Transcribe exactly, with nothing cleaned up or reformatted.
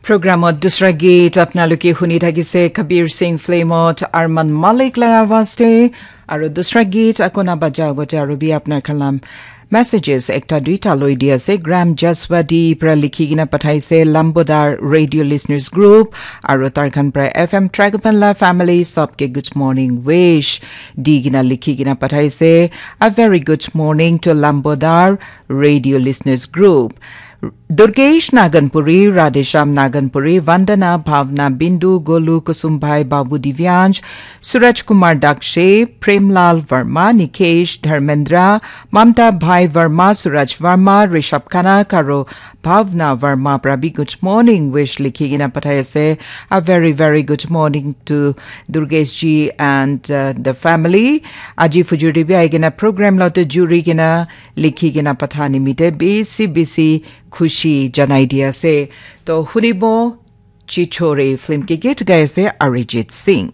Programot dusra geet apnaloke huni thakise Kabir Singh filmot Arman Malik laga awaaz te, aru dusra geet akona baja agote aru bi apnar khan la messages ekta duita loi di ase. Gram Jaswadi pra likhi kena pathaise, Lambodar Radio Listeners Group, aru tar khan pra F M Tragapan la family sabke good morning wish di kena likhi kena pathaise. A very good morning to Lambodar Radio Listeners Group. Durgesh Naganpuri, Radhesham Naganpuri, Vandana, Bhavna, Bindu, Golu, Kusum Bhai, Babu Divyansh, Suraj Kumar Dakshe, Premlal Verma, Nikesh, Dharmendra, Mamta Bhai Verma, Suraj Verma, Rishabh Khanna, aru Bhavna Verma pra bi good morning wish likhi kena pathai ase. A very, very good morning to Durgesh ji and uh, the family. Aji fujur te bi ahi kena program lote juri kena likhi kena patha nimite bisi bisi khushi janai di ase. To hunibo Chichore film ke git gai ase Arijit Singh.